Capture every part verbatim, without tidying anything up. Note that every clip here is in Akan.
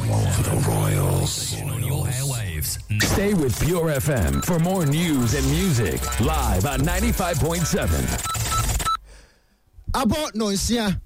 For the Royals. On your airwaves. Stay with Pure F M for more news and music. Live on ninety-five point seven. Abɔ nɔnsia,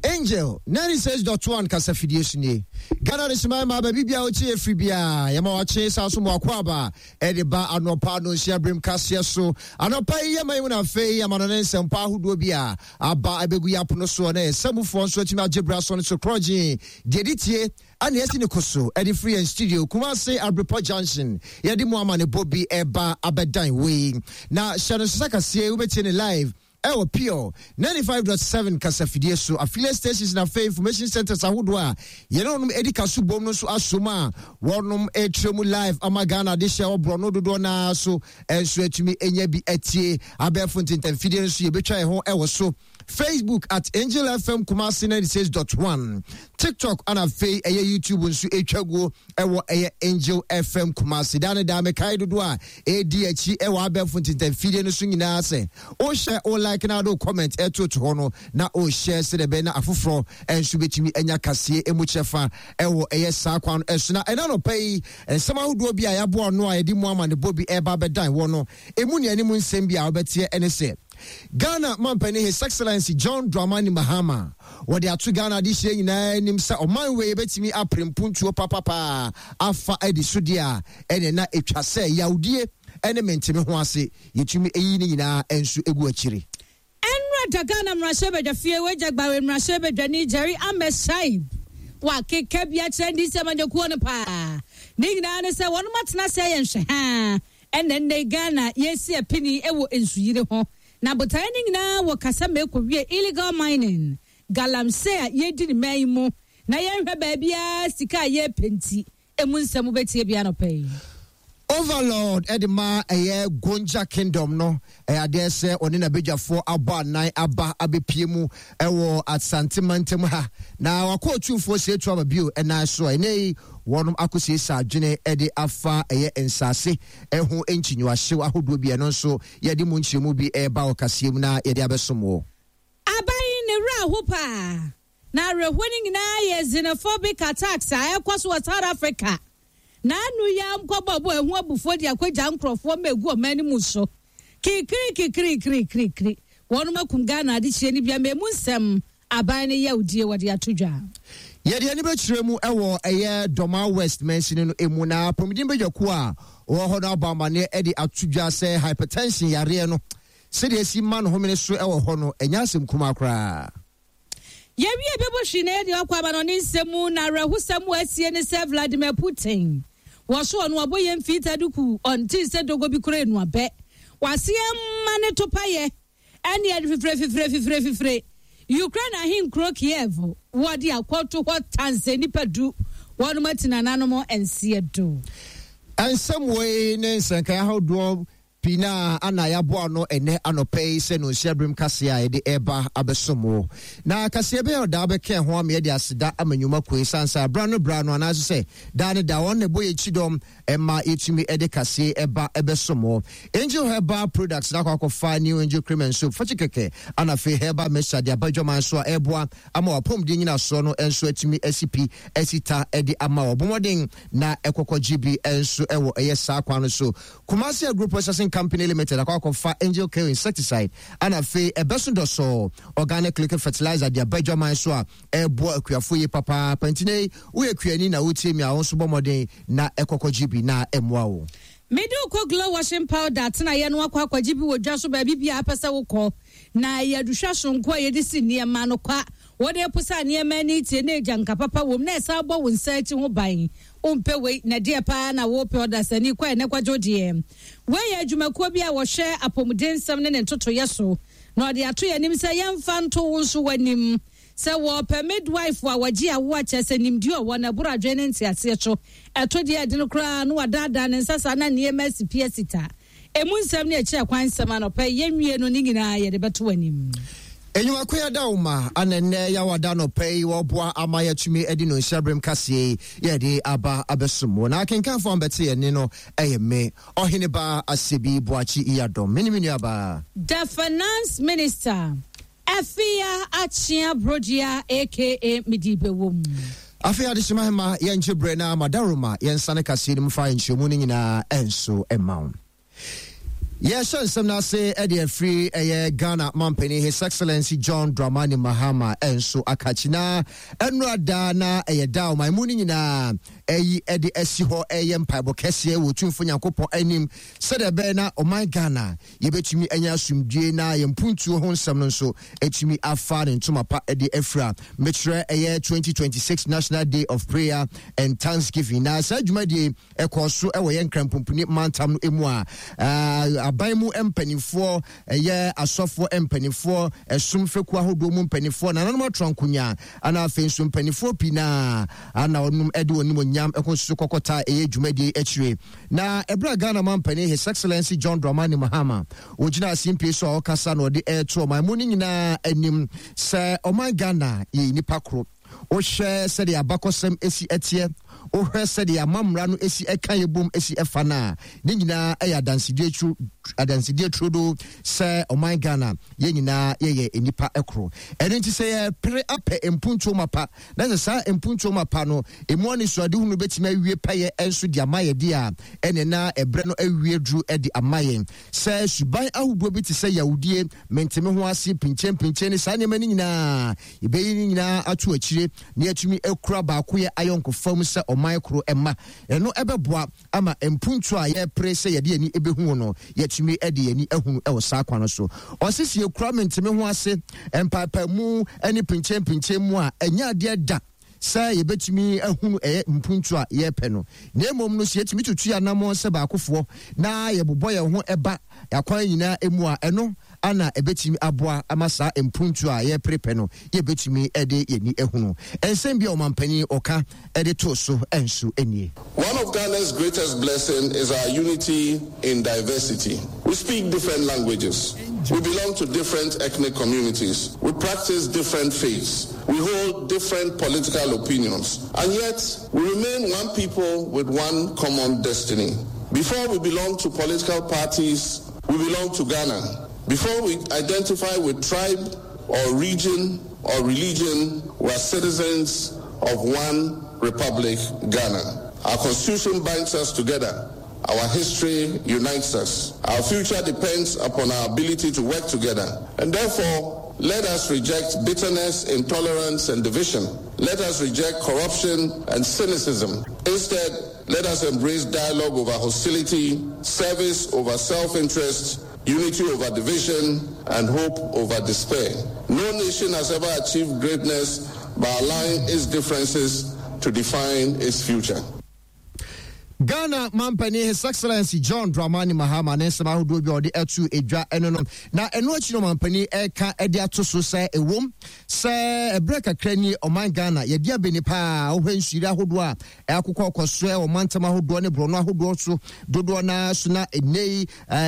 Angel ninety-six point one kasafidie so nie. Ghana de soma ma baabi bia wokyi ɛfiri biaa, yɛma wakye saa so mmoako aba ɛde ba anɔpa nonsia berem kaseɛ so. Anɔpa yi yɛma yi mu no, afei ama no ne nsɛmpa ahodoɔ bi a aba ɛbɛgu yɛ apono soɔ na yɛsɛmufoɔ nso atumi agye bra so no so korɔgyee deɛ de tie ane asi ne ko so ɛde firi yɛn studio Kumase Abrepɔ Junction. Yɛde mu ama ne bɔ bi ɛba abɛdan wei na hyɛ no so sɛ kaseɛ wobɛtie ne live ɛwɔ Pure ninety-five point seven kasafidie so, affiliate stations na afei information centers ahodoɔ a yɛne wɔnom adi ka so bom no nso asom a wɔnom ɛtire mu live ama Ghana de hyɛ ɔborɔ no dodoɔ naa so ɛnso atumi anya bi atie. Abɛɛfo ntentamfidie no nso yɛbɛtwa yɛn ho ɛwɔ so: Facebook at Angel F M Kumasi ninety-six point one, TikTok ana afei ɛyɛ YouTube nso ɛtwa guo ɛwɔ ɛyɛ Angel F M Kumasi. Daa ne daa mekae dodoɔ a ɛdi akyi ɛwɔ abɛɛfo ntentamfidie no so nyinaa sɛ wohyɛ wo like na wode wo comment ɛtoto hɔ no na wohyɛ sɛdeɛ ɛbɛyɛ na afoforɔ ɛnso bɛtumi anya kaseɛ ɛmu kyɛfa ɛwɔ ɛyɛ saa kwan no ɛso. Na ɛna nɔpɛ yi, nsɛm ahodoɔ bi a yɛaboa no a yɛde mu ama ne bɔ bi ɛba bɛdan wɔ no ɛmu ne anim nsɛm bi a wobɛteɛ ɛne sɛ Ghana mampanin His Excellency John Dramani Mahama wɔde ato Ghana adehyɛ nyinaa anim sɛ ɔman wei yɛbɛtumi apere mpuntuo papapaa afa adi so deɛ a, ɛne na ɛtwa sɛ yawdie ɛne menteme ho ase yɛtumi ɛyi ne nyinaa nso ɛgu akyiri. Ɛnura da Ghana mmarahyɛbadwafie, wagya gbawe mmarahyɛbadwani Jerry Ahmed Shaib wakeka bi akyerɛ N D C amanyɔkuo no paa. Ne nyinaa ne sɛ wɔnom atena ase ayɛ nhwɛ haa ɛnna nnɛ Ghana yɛsi apini wɔ nsuyiri ho, na botaeɛ no nyinaa wɔ kasa ma ɛkɔwie illegal mining, galamsey a yɛdi ne man yi mu na yɛnhwɛ baabiara sika a yɛrepɛ. Nti emu nsɛm wobɛtie bi anɔpɛ yi. Overlord ɛde ma ɛyɛ Gonja Kingdom no, ɛyɛ adeɛ sɛ ɔne n'abadwafoɔ abɔ anan aba abɛpie mu ɛwɔ Asante mantam ha na wakɔ Otumfoɔ Sietu aba bio ɛnan so a ɛnɛ yi wɔnom akɔsiesie adwene ɛde afa ɛyɛ nsase ɛho nkyinyiwahyew ahodoɔ bi. Ɛno nso yɛde mu nkyerɛmu bi ɛreba wɔ kaseɛ mu na yɛde abɛsom wɔ. Aban ne werɛ aho paa, na awerɛhoɔ no nyinaa yɛ xenophobic attacks a ɛkɔ so wɔ South Africa na anu yi a nkɔbɔbɔ ɛho abufuo de akɔgya nkurɔfoɔ ma egu ɔman no mu so kirikiri kirikiri kirikiri. Wɔnom akum Ghana adehyɛ no bi ama emu nsɛm aban no yɛ odie wɔde ato dwa. Yɛde ani bɛkyerɛ mu ɛwɔ ɛyɛ Dɔma West mansini no emu na apɔmuden badwakuo a wɔwɔ hɔ no abɔ amanneɛ de ato dwa sɛ hypertension yareɛ no, sɛdeɛ asi ma no homene so ɛwɔ hɔ no, ɛnyɛ asɛm kumaa koraa. Yɛwie bɛbɔ hwii na yɛde akɔ aba no ne nsɛm mu, na awerɛhosɛm wɔ asie ne sɛ Vladimir Putin wɔ so ɔno ɔbɔ yɛn mfiita duku ɔnte sɛ dogo bi kora enuabɛ waseɛ ma ne to payɛ ɛne yɛde fifire fifire fifire fifire Ukraine ahenkuro Kiev wɔde akɔto hɔ tanse nipa du wɔnom ati nananom nseɛ do. Ɛnsɛm wei ne nsɛnkae ahodoɔ pii na ana yɛaboa no ɛnɛ anɔpɛ yi sɛ no nhyia berem kaseɛ a yɛde ɛreba abɛsom wo. Na kaseɛ bɛyɛ ɔdaa bɛka ho ama yɛde aseda ama nnwuma koe sane sɛ abra no bra no anaasɛ sɛ daa ne da wɔn na ɛbɔ yɛkyi dɔm ɛma yɛtumi ɛde kaseɛ ɛba ɛbɛsom wo. Angel Herbal Products na akɔ akɔfa New Angel Cream and Soap fakyi kɛkɛ ana afei herbal mixture de aba adwaman so a ɛreboa ama wapɔmuden nyinasoɔ no nso atumi asi pi asi ta ɛde ama wɔ bɔmmɔden na ɛkɔkɔ gye bi nso ɛwɔ ɛyɛ saa kwan no so. Kumasi Agro Processing Company Limited akɔ akɔfa Angel Kill insecticide ana afei ɛbɛso dɔsɔɔ organic liquid fertilizer de aba adwaman so a ɛreboa akuafoɔ yi papaapa. Nti ne woyɛ kuani na wotie mi a, wo nso bɔ mmɔden na ɛkɔkɔ gye bi na ɛmmoa wo. Mede wokɔ Glow washing powder atenaeɛ no akɔ akɔgye bi wɔ dwa so baabi bia apɛ sɛ wokɔ, na ɛyɛ aduhwɛ sonko a yɛde si nneɛma no kwa. Wɔde posa nneɛma ani tie na agya nka papa wom na ɛsan bɔ wo nsa akyi ho ban. Wompɛ wei na deɛ paa na wopɛ? Ɔdasani kɔ ɛnɛ kwadwo deɛ wei yɛ adwumakuo bi a wɔhwɛ apɔmuden nsɛm ne ne ntotoyɛ so na ɔde ato yɛn anim sɛ yɛmfa nto wo nso w'anim sɛ wɔpɛ midwife a wɔgye awo akyɛ sɛ nimdeɛ ɔwɔ na ɛboro adwene ne nteaseɛ so. Ɛto deɛ ɛde no koraa na wadaadaa ne nsa saa na nneɛma asi pie sita. Emu nsɛm ne akyerɛ kwan nsɛm anɔpɛ yɛnwie no ne nyinaa yɛde bɛto anim. Enyimako yɛda wo ma ana nnɛ yɛawada nɔpɛ yi wɔboa ama yɛatumi adi no nhyɛberem kaseɛ yi yɛde aba abɛsom wo. Na akenkanfoɔ a mbɛte yɛne no ɛyɛ me Ɔhene Ba Asɛbi Boakye Yadɔm, me ne me nuabaa The Finance Minister Afia Akyea Brodua, A K A Midibewom. Afei adehyema hema yɛngye berɛ na madaroma yɛnsane kaseɛ no mu fa nkyerɛmu no nyinaa ɛnso ɛma wo. Yɛhyɛ nsɛm no ase ɛde afiri ɛyɛ Ghana mampanin His Excellency John Dramani Mahama ɛnso akakyi na ɛnora daa na ɛyɛ da ɔman mu no nyinaa ɛyi ɛde asi hɔ ɛyɛ mpaebɔ kɛseɛ wɔ Tumfo Nyankopɔn anim sɛdeɛ ɛbɛyɛ na ɔman Ghana yɛbɛtumi anya asomdwie na yɛn mpuntuo ho nsɛm no nso ɛtumi afa ne ntoma pa ɛde afira. Mekyerɛ ɛyɛ twenty twenty-six National Day of Prayer and Thanksgiving, na saa dwumadie ɛkɔɔ so ɛwɔ yɛn Nkranpomponi mantam no mu a aban mu mpanimfoɔ, ɛyɛ asɔfoɔ mpanimfoɔ, ɛsom fekuo ahodoɔ mu mpanimfoɔ, nananom atɔ nkonya, ana afei nso mpanimfoɔ pii naa ana ɔnom ɛde wɔn nimonyam ɛkɔ so kɔkɔta ɛyɛ dwumadie akyire. Na ɛberɛ a Ghana mampanin His Excellency John Dramani Mahama wɔgyina asempie so a ɔkasa na ɔde ɛɛto ɔman mu no nyinaa anim sɛ ɔman Ghana yɛ nipa koro. Wohwɛ sɛdeɛ abakɔsɛm esi ɛteɛ, wohwɛ sɛdeɛ amammerɛ no esi ɛka yɛ bom esi ɛfa no a, ne nyinaa ɛyɛ adansedie turo adansedie turodo sɛ ɔman Ghana yɛn nyinaa yɛyɛ nipa ɛkoro. Ɛno nti sɛ yɛpere apɛ mpuntuo mapa na sɛ saa mpuntuo mapa no emu anisoadehunu bɛtumi awie pɛyɛ ɛnso de ama yɛ de a, ɛne na ɛbrɛ no awie duru ɛde ama yɛn sɛ suban ahodoɔ bi te sɛ yawudie, menteme ho ase, pinkyɛn ne saa nneɛma no nyinaa yɛbɛyi no nyinaa ato akyire na yɛatumi akura baako yɛ ayɔnkofa mu sɛ ɔman koro ɛma ɛno ɛbɛboa ama mpuntu a yɛpere sɛ yɛde ani ɛbɛhu no, yɛatumi de yɛni ahunu ɛwɔ saa kwan no so. Ɔse sɛ yɛkura menteme ho ase, mpaapaemu ne pinkyɛn mu a, ɛnyɛ adeɛ da sɛ yɛbɛtumi ahunu ɛyɛ mpuntu a yɛrepɛ no, na mmom no sɛ yɛtumi tutu yɛ anammɔn sɛ baakofoɔ na yɛbobɔ yɛn ho ɛba akwan nyinaa mu a, ɛno ana ɛbɛtumi aboa ama saa mpuntu a yɛreperepɛ no yɛbɛtumi de yɛni ahunu. Ɛnsɛm bi a ɔmampanin ɔka ɛde to so ɛnso nie. One of Ghana's greatest blessings is our unity in diversity. We speak different languages. We belong to different ethnic communities. We practice different faiths. We hold different political opinions. And yet, we remain one people with one common destiny. Before we belong to political parties, we belong to Ghana. Before we identify with tribe or region or religion, we are citizens of one republic, Ghana. Our constitution binds us together. Our history unites us. Our future depends upon our ability to work together. And therefore, let us reject bitterness, intolerance, and division. Let us reject corruption and cynicism. Instead, let us embrace dialogue over hostility, service over self-interest, unity over division, and hope over despair. No nation has ever achieved greatness by allowing its differences to define its future. Ghana mampanin His Excellency John Dramani Mahama ne nsɛm ahodoɔ bi a ɔde atu edwa ɛno no. Na ɛno akyi no, mampanin ɛka ɛde ato so sɛ ɛwom sɛ ɛberɛ kakra ni ɔman Ghana yɛde abɛni paa, wohwɛ nsuyiri ahodoɔ a ɛakokɔ kɔ so ɛwɔ mantam ahodoɔ ne borɔno ahodoɔ so dodoɔ naa so, na ɛnɛ yi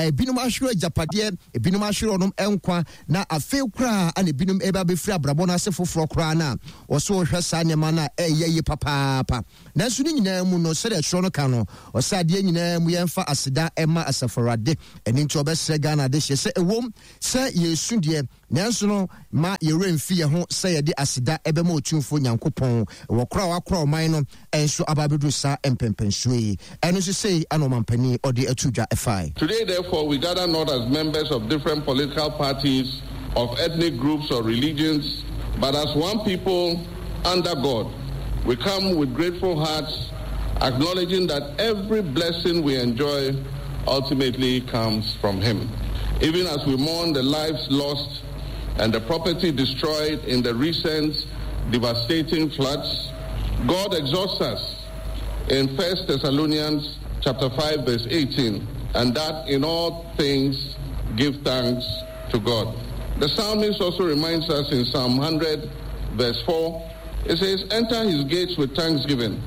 ebinom ahwere agyapadeɛ, ebinom ahwere ɔnom nkwa, na afei koraa ana ebinom ɛba bɛfiri abrabɔ no ase foforɔ koraa no a wɔso wɔhwɛ saa nneɛma no a ɛyɛ yie papaapa. Nanso ne nyinaa mu no, sɛdeɛ ɛtwerɛ no ka no, ɔsɛ adeɛ nyinaa mu yɛmfa aseda ɛma Asafo Awurade. Ɛno nti ɔbɛsrɛ Ghana de hyɛ sɛ ɛwom sɛ yɛsu deɛ, nanso no ma yɛwerɛ mfi yɛn ho sɛ yɛde aseda ɛbɛma Otumfoɔ Nyankopɔn wɔ kora a wakora ɔman no ɛnso aba abɛduru saa mpɛmpɛnsuo yi. Ɛno nso sei ana ɔmampanin ɔde ato dwa ɛfae. Today, therefore, we gather not as members of different political parties, of ethnic groups or religions, but as one people under God. We come with grateful hearts, acknowledging that every blessing we enjoy ultimately comes from Him. Even as we mourn the lives lost and the property destroyed in the recent devastating floods, God exhorts us in First Thessalonians chapter five verse eighteen, and that in all things give thanks to God. The psalmist also reminds us in Psalm one hundred verse four, it says, "Enter his gates with thanksgiving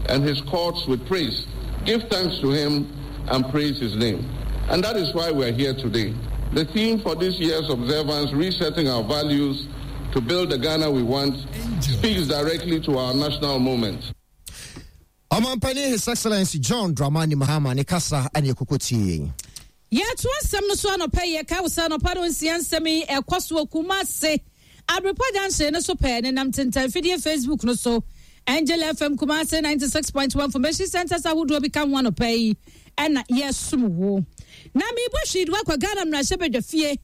and his courts with praise. Give thanks to him and praise his name." And that is why we are here today. The theme for this year's observance, "Resetting Our Values to Build the Ghana We Want," speaks directly to our national moment. Ɔmampanin His Excellency John Dramani Mahama ne kasa ane ɛkɔkɔ tie. Yɛto asɛm no so anɔpɛ yi, yɛka wo sɛ anɔpa no nsia nsɛm yi ɛkɔ so wɔ Kumase Abrepɔ junction no so pɛɛ ne nam tentanfidie Facebook no so. Angel F M Kumase ninety-six point one, information centers ahodoɔ bi ka ho. Anɔpa yi ɛna yɛsom wo na mebɔ hwii de wakɔ Ghana mmarahyɛbadwa fie.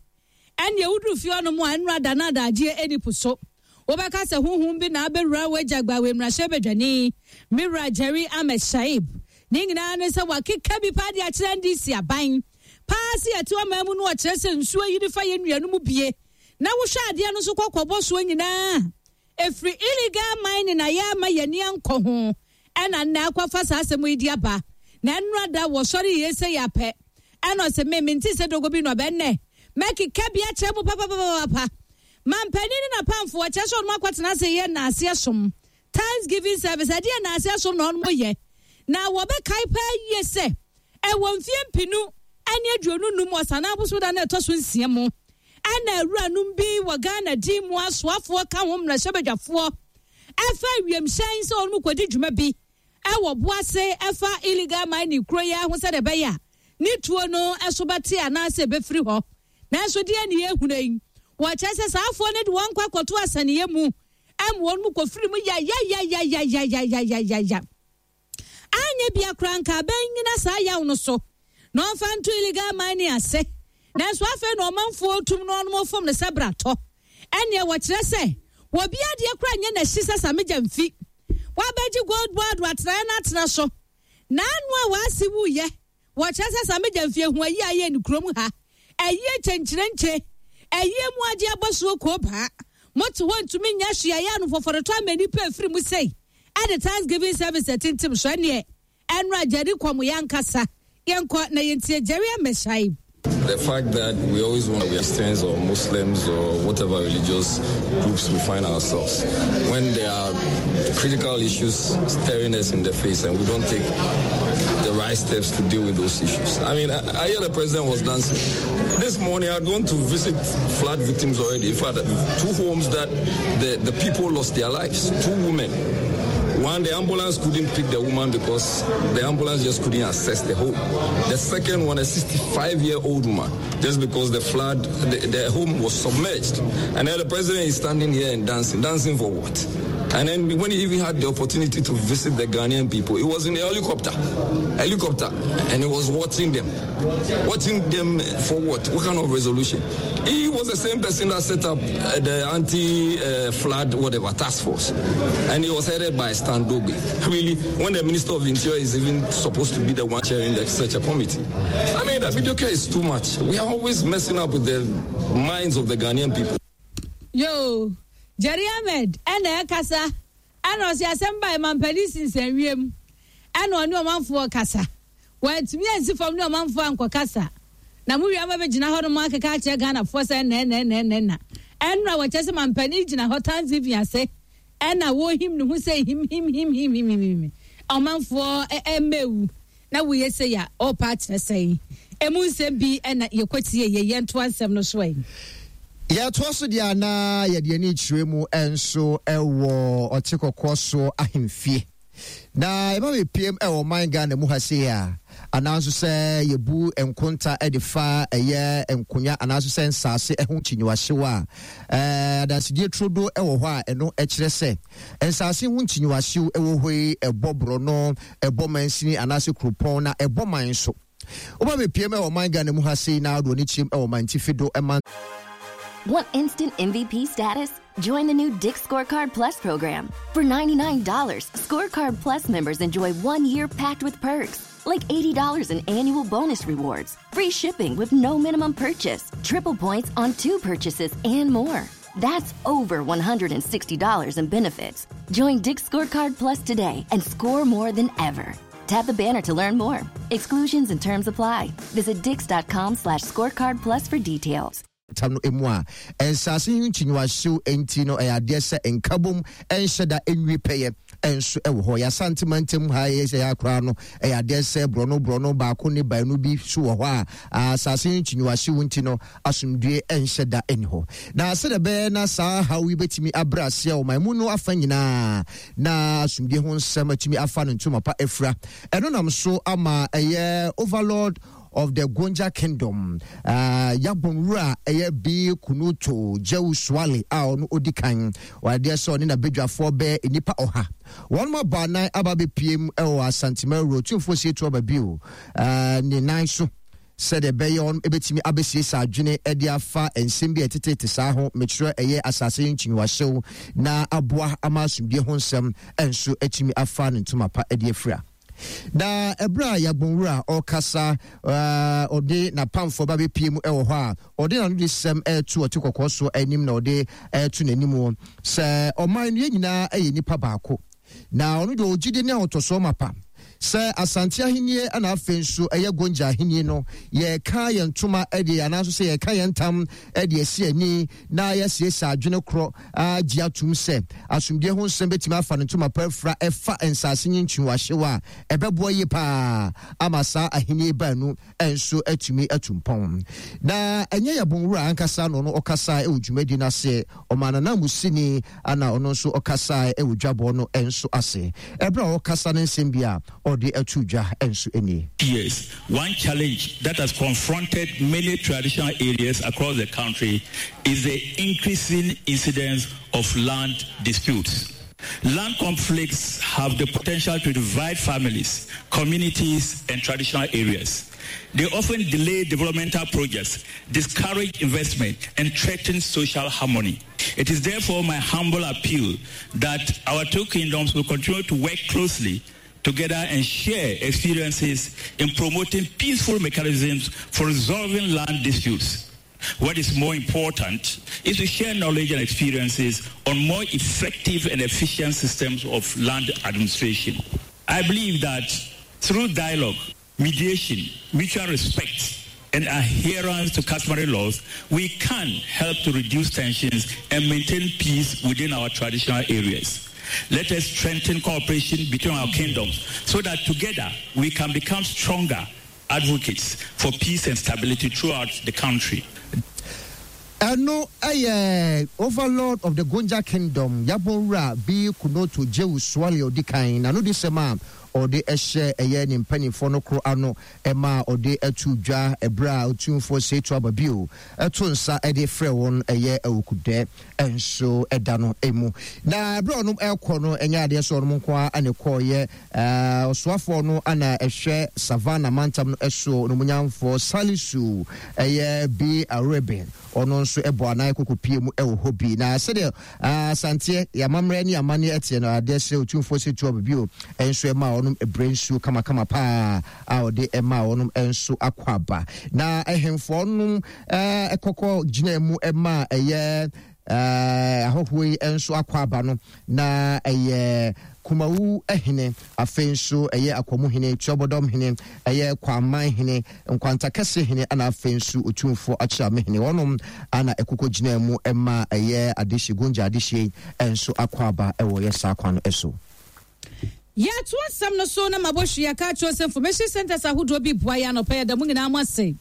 Ɛne woduru fie ɔnom a, nnora da no adagyeɛ ɛni po so, wobɛka sɛ honhom bi na abɛwura w'agya gbawe mmarahyɛbadwani mewura Jerry Ahmed Shaib. Ne nyinaa ne sɛ wakeka bi paa de akyerɛ N D C aban paa sɛ yɛte ɔman mu no, ɔkyerɛ sɛ nsuo yi fa yɛ nnua no mu bie na wohwɛ adeɛ no nso kɔkɔbɔ soɔ nyinaa ɛfiri illegal mining na yɛ ama yɛni ankɔ ho. Ɛna nnɛ akɔfa saa asɛm yi di aba na nnora da wɔsɔre yie sɛ yɛapɛ. Ɛna ɔsɛ me mente sɛ dogo bi na ɔbɛnnɛ mɛkeka bi akyerɛ mu papapapapa. Mampanin ne napamfoɔ kyerɛ sɛ ɔnom akɔtena ase yɛ naaseɛ som, thanksgiving service. Ɛdeɛ naaseɛ som na ɔnom yɛ na wɔbɛkae paa yie sɛ ɛwɔ mfie mpinu ɛne aduonu num ɔsane aboso da no ɛtɔ so nsia mu, ɛna awuranom bi wɔ Ghana din mu, asoafoɔ ka ho, mmarahyɛbadwafoɔ, ɛfa wiemhyɛn sɛ ɔnom kɔdi dwuma bi ɛwɔ boase ɛfa illegal mining kuro yi ho, sɛdeɛ ɛbɛyɛ a ne tuo no ɛso bɛte anaasɛ ɛbɛfiri hɔ. Nanso deɛ ne yɛhunu yi, wɔkyerɛ sɛ saafoɔ no de wɔn kɔ akɔto asaniɛ mu ɛma wɔn mu kɔfiri mu yayayayayayayayaya. Anyɛ bia koraa nka abɛn nyina saa yaw no so na ɔmfa nto illegal mining ase. Nanso afei na ɔmanfoɔ tum na ɔnom fom no sɛ bratɔ. Ɛneɛ wɔkyerɛ sɛ wɔbi adeɛ koraa nyɛ n'akyi sɛ Sammy Gyamfi wabɛgye Gold Board atenaeɛ no atena so n'ano a waasi wuyɛ. Wɔkyerɛ sɛ Sammy Gyamfi ehu ayi ayɛ ne kurom ha, ɛyie kyɛnkyerɛnkyɛ, ɛyie mu agye abɔsoɔ koo baa mote hɔ ntumi nya hwee ayɛ ano fɔfɔrɔtɔ ama nipa efiri mu sei. Ɛde thanksgiving service ɛtintim so ɛneɛ ɛnura Jerry kɔm yɛn ankasa yɛnkɔ na yɛntie Jerry Amɛhyɛn. The fact that we always want to be Christians or Muslims or whatever religious groups we find ourselves, when there are critical issues staring us in the face and we don't take the right steps to deal with those issues. I mean, I, I hear the president was dancing. This morning I'd gone to visit flood victims already. In fact, two homes that the, the people lost their lives, two women. One, the ambulance couldn't pick the woman because the ambulance just couldn't access the home. The second one, a sixty-five year old woman, just because the flood, the, the home was submerged. And then the president is standing here and dancing. Dancing for what? And then when he even had the opportunity to visit the Ghanaian people, he was in a helicopter. Helicopter. And he was watching them. Watching them for what? What kind of resolution? He was the same person that set up uh, the anti-flood, whatever, task force. And he was headed by Stan Dogbe. Really, when the Minister of Interior is even supposed to be the one chairing the, such a committee. I mean, that video is too much. We are always messing up with the minds of the Ghanaian people. Yo, Jerry Ahmed ɛna ɛkasa, ɛna ɔsi asɛm ba mampanin sinsɛn wiem, ɛna ɔne ɔmanfoɔ kasa. Wɔntumi ansi fam ne ɔmanfoɔ ankɔ kasa na mo wia ma bɛgyina hɔ nom akeka akyerɛ Ghanafoɔ sɛ ɛnɛ ɛnɛ ɛnɛ ɛnɛ na ɛnura wɔkyɛ sɛ mampanin gyina hɔ thanksgiving ase, ɛna wɔhim ne ho sɛ him him him him him him, ɔmanfoɔ ɛmɛwu na woyɛ sɛ ya ɔpa akyerɛ sɛn. Emu nsɛm bi ɛna yɛkɔtie yɛ yɛntoa nsɛm no so yi. Yɛtoa so deɛ a, na yɛde ani kyerɛ mu nso ɛwɔ Ɔte Kɔkɔɔ so ahemfie na yɛba bɛpiem ɛwɔ ɔman Ghana mu ha sei a, anaa nso sɛ yɛbu nkonta de fa ɛyɛ nkonya anaa nso sɛ nsase ho kyinyiwahyew a, ɛɛ adansedie turodo ɛwɔ hɔ a, ɛno kyerɛ sɛ nsase ho nkyinyiwahyew ɛwɔ hɔ yi ɛbɔ borɔno, ɛbɔ mansini anaasɛ kuropɔn na ɛbɔ man so. Woba bɛpiem ɛwɔ ɔman Ghana mu ha sei na wode w'ani kyerɛm ɛwɔ mantifi do ɛma Want instant M V P status? Join the new Dick's Scorecard Plus program. For ninety-nine dollars Scorecard Plus members enjoy one year packed with perks, like eighty dollars in annual bonus rewards, free shipping with no minimum purchase, triple points on two purchases, and more. That's over one hundred sixty dollars in benefits. Join Dick's Scorecard Plus today and score more than ever. Tap the banner to learn more. Exclusions and terms apply. Visit dicks dot com slash scorecard plus for details. Tam no emu a nsase yi nkyinyiwahyew nti no, ɛyɛ adeɛ sɛ nkabom nhyɛ da nwie pɛyɛ nso ɛwɔ hɔ. Yɛasante mantam ha yɛ sɛ yɛakora no, ɛyɛ adeɛ sɛ borɔno borɔno baako ne baanu bi so wɔ hɔ a asase yi nkyinyiwahyew nti no, asomdue nhyɛ da nni hɔ. Na sɛdeɛ ɛbɛyɛ na saa haw yi bɛtumi abrɛ aseɛ ɔman mu no afa nyinaa na asomdue ho nsɛm atumi afa no ntoma pa afira, ɛno nam so ama ɛyɛ Overlord of the Gonja Kingdom, uh, Yagbonwura ɛyɛ Bi Kunuto Jewu Swale a ɔno odi kan, wɔadeɛ sɛ ɔne n'abadwafoɔ bɛɛ nnipa ɔha wɔn mo abɔ anan aba abɛpie mu ɛwɔ Asanteman wuro Otumfoɔ Osei Tutu Aba bio uh, ne nan so sɛdeɛ ɛbɛyɛ wɔn ɛbɛtumi abɛsiesie adwene ɛde afa nsɛm bi a ɛtetete saa ho, mekyerɛ ɛyɛ asase yi nkyinwahyew, na aboa ama asomdue ho nsɛm nso atumi afa ne ntoma pa ɛde afira. Na ɛberɛ a Yagbonwura ɔkasa, ɔde n'apamfoɔ ba bɛpie mu ɛwɔ hɔ a ɔde n'ano de sɛm ɛreto ɔte kɔkɔɔ so anim na ɔde ɛreto n'anim sɛ ɔman no yɛn nyinaa ɛyɛ nipa baako, na ɔno deɛ ɔgyidi ne ahotɔsoɔ mapa sɛ Asante ahennie ɛna afei nso ɛyɛ Gonja ahennie no, yɛka yɛn ntoma ɛde anaasɛ sɛ yɛka yɛn ntam ɛde asi ani na yɛasiesie adwene korɔ agye atum sɛ asomdue ho nsɛm bɛtumi afa ne ntoma pa afira ɛfa nsase nye nkyiwahyew a ɛbɛboa yie paa ama saa ahennie baanu nso atumi atu mpɔn. Na ɛnyɛ Yagbonwura ankasa na ɔno ɔkasa ɛwɔ dwumadi no ase, ɔma nanamusini ana ɔno nso ɔkasa ɛwɔ dwabɔ no nso ase. Ɛberɛ a ɔkasa ne nsɛm bi a ɔde ato dwa nso nie. Yes, one challenge that has confronted many traditional areas across the country is the increasing incidence of land disputes. Land conflicts have the potential to divide families, communities, and traditional areas. They often delay developmental projects, discourage investment, and threaten social harmony. It is therefore my humble appeal that our two kingdoms will continue to work closely together and share experiences in promoting peaceful mechanisms for resolving land disputes. What is more important is to share knowledge and experiences on more effective and efficient systems of land administration. I believe that through dialogue, mediation, mutual respect, and adherence to customary laws, we can help to reduce tensions and maintain peace within our traditional areas. Let us strengthen cooperation between our kingdoms so that together we can become stronger advocates for peace and stability throughout the country. Ɛno ɛyɛ Overlord of the Gonja Kingdom, Yagbonwura Bi Kunoto Jewu Suale ɔdi kan na no de sɛm a ɔde ɛhyɛ ɛyɛ ne mpanimfoɔ no koro ano ɛma ɔde ɛto dwa ɛberɛ a Otumfoɔ Osei Tutu Aba bio ɛto nsa ɛde frɛ wɔn ɛyɛ awukudɛ nso ɛda no emu. Na ɛberɛ a ɔnom ɛkɔ no, ɛnyɛ adeɛ sɛ ɔnom nko ara ɛna ɛkɔɔyɛ. Ɔsoafoɔ no ana ɛhwɛ Savannah mantam no ɛso nomonyamfoɔ Salisu ɛyɛ Bi Areben, ɔno nso ɛbɔ anan kɔkɔpie mu ɛwɔ hɔ bi. Na sɛdeɛ Asanteɛ yɛamammerɛ ne amanneɛ ɛteɛ no, adeɛ sɛ Otumfoɔ Osei Tutu Aba bio ɛnso ɛma ɔnom ɛbrɛ nsuo kamakama paa a ɔde ɛma ɔnom nso akɔ aba. Na ɛhemfoɔ nom ɛkɔkɔ gyina mu ɛma ɛyɛ ahɔhoɔ yi nso akɔ aba no, na ɛyɛ Kumawu hene, afei nso ɛyɛ Akwamu hene, Tuabɔdɔm hene, ɛyɛ Kwaman hene, Nkwantakɛse hene, ana afei nso Otumfoɔ Akyerɛame hene. Wɔnom ana ɛkokɔ gyina mu ɛma ɛyɛ adehye Gonja adehye nso akɔ aba ɛwɔ yɛ saa kwan no so. Yɛto asɛm no so na mabɔhwe yɛka kyerɛ sɛ information centers ahodoɔ bi boa yɛ anɔpɛ. Yɛda mu nyinaa mo ase.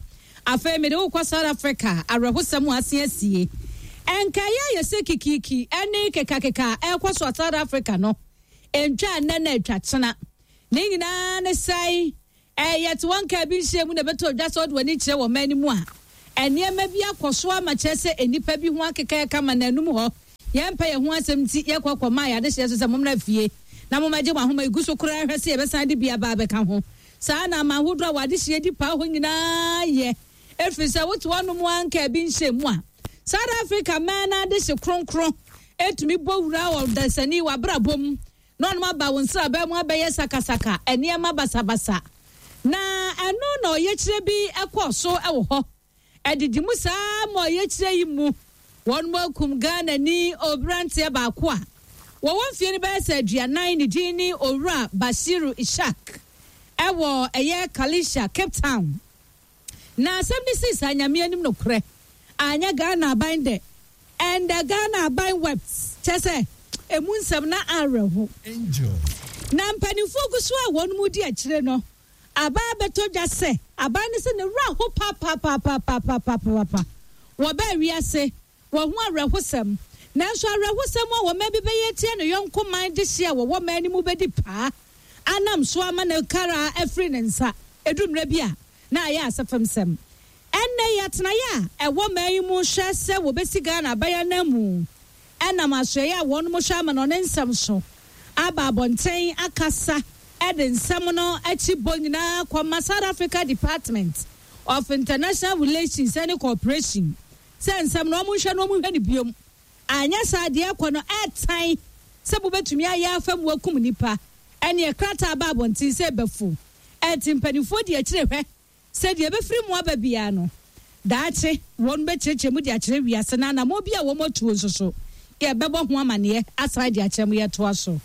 Afei mede wokɔ South Africa. Awerɛhosɛm a ase asie ɛnkaeɛ a yɛsɛ kikiki ɛne kekakeka ɛkɔ so South Africa no ntwa nnɛ na atwa kyena ne nyinaa ne sɛe. Ɛyɛ te wɔn kaa bi nhyia mu na ɛbɛtɔ dwa sɛ ɔde w'ani kyerɛ wɔ man no mu a nneɛma bi akɔ so ama kyerɛ sɛ nnipa bi ho akeka ɛka ma n'anum hɔ. Yɛmpɛ yɛn ho asɛm nti yɛkɔ kɔ maa yɛade hyɛ so sɛ mommra fie na mommɛgye mo ahoma. Egu so koraa hwɛ sɛ yɛbɛsan de bi aba abɛka ho. Saa na ama ahodoɔ a wɔade hyɛ di paa hɔ nyinaa yɛ ɛfiri sɛ wote hɔnom anka bi nhyɛ mu a South Africa man no ade hye kronkron ɛtumi bɔ wura wɔ dasani w'abrabɔ mu na ɔnom aba wo nsraba mu abɛyɛ sakasaka, nneɛma basabasa. Na ɛno na ɔyɛkyerɛ bi ɛkɔɔ so ɛwɔ hɔ ɛdidi mu saa ma ɔyɛkyerɛ yi mu wɔn mu akum Ghana ni oberanteɛ baako a wɔwɔ mfie no bɛyɛ sɛ aduanan, ne din ne Owura Bashiru Ishak, ɛwɔ ɛyɛ Khayelitsha, Cape Town. Na asɛm ne si saa, Nyame anim nokorɛ, anyɛ Ghana aban dɛ, and the Ghana aban wept, kyɛ sɛ emu nsɛm na awerɛho. Na mpanimfoɔ gu so a wɔn mu di akyire no aba abɛtɔ dwa sɛ aban no sɛ ne wura ho papapapapapapapa wɔbaa wiase wɔn ho awerɛhosɛm. Nanso awerɛhosɛm a wɔn bi bɛyɛ tia ne yɔnko man de hyia a wɔwɔ man no mu bɛdi paa anam so ama ne kara afiri ne nsa. Edu mmerɛ bi a Na ayɛ asɛfam sɛm. Ɛnnɛ yi atenaeɛ a ɛwɔ man yi mu hwɛ sɛ wɔbɛsi Ghana aban no mu ɛnam asoɛeɛ a wɔn hwɛ ama no ne nsɛm so aba abɔnten akasa ɛde nsɛm no akyi bɔ nyinaa kɔma South Africa Department of International Relations and Cooperation sɛ nsɛm no ɔmo nhwɛ no, ɔmo nhwɛ no biom. Anyɛ saa deɛ ɛkɔ no ɛɛtan sɛ mobɛtumi ayɛ afa mu akum nipa. Ɛne krataa ba abɔnten sɛ ɛbɛfu ɛnti mpanimfoɔ di akyire hwɛ sɛ deɛ ɛbɛfiri mu aba biara no, daakye wɔn bɛkyerɛkyerɛ mu de akyerɛ wiase na anammɔ bi a wɔn atuo nso so yɛbɛbɔ ho amanneɛ asan de akyerɛ mu. Yɛtoa so.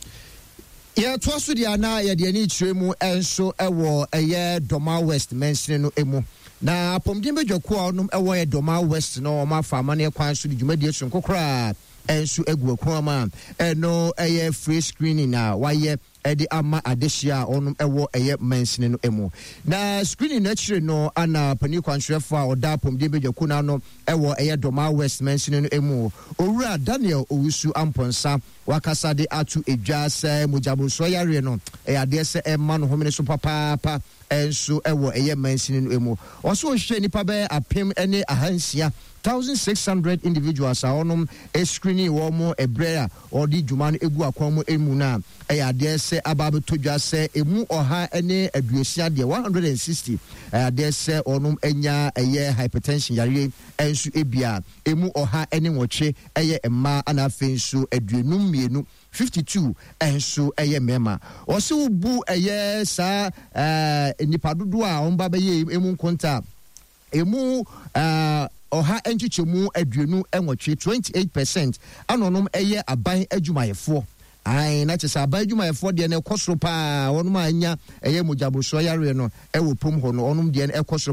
Yɛtoa so deɛ na yɛde ani kyerɛ mu nso ɛwɔ ɛyɛ Dɔma West mansini no mu, na apɔmuden badwakuo a ɔnom ɛwɔ yɛ Dɔma West no, ɔmo afa amanneɛ kwan so de dwumadie sonko koraa ɛnso agu akwan mu a ɛno ɛyɛ free screening a wayɛ ɛde ama adehyia a ɔnom ɛwɔ ɛyɛ mansini no mu. Na screening no akyire no, ana panin kwankyerɛfoɔ a ɔda apɔmuden badwakuo no ano ɛwɔ ɛyɛ Dɔma West mansini no mu, Owura Daniel Owusu Ampɔnsa, wakasa de ato edwa sɛ mogyaborosoɔ yareɛ no ɛyɛ adeɛ sɛ ɛma no homene so papaapa ɛnso ɛwɔ ɛyɛ mansini no mu. Ɔso ɔhwehwɛ nipa bɛyɛ apem ne ahansia, thousand six hundred individuals a wɔnom screening wɔn mo ɛbrɛ a ɔde dwuma no egu akwan mu emu no a, ɛyɛ adeɛ sɛ aba abɛtɔ dwa sɛ emu ɔha ne aduosia deɛ, one hundred and sixty, ɛyɛ adeɛ sɛ wɔnom anya ɛyɛ hypertension yareɛ ɛnso ebia. Emu ɔha ne nwɔtwe ɛyɛ mmaa, ana afei nso aduonum mmienu, fifty two, ɛnso ɛyɛ mmarima. Ɔsi wobu ɛyɛ saa ɛɛ nipa dodoɔ a wɔn ba bɛyɛ emu nkonta, emu ɛɛ ɔha nkyekyɛmu aduonu nwɔtwe, twenty eight percent, ana ɔnom ɛyɛ aban adwumayɛfoɔ. Ayi na kyerɛ sɛ aban adwumayɛfoɔ deɛ no ɛkɔ soro paa. Wɔnom a anya ɛyɛ mogyaborosoɔ yareɛ no ɛwɔ pom hɔ no, ɔnom deɛ no ɛkɔ soro.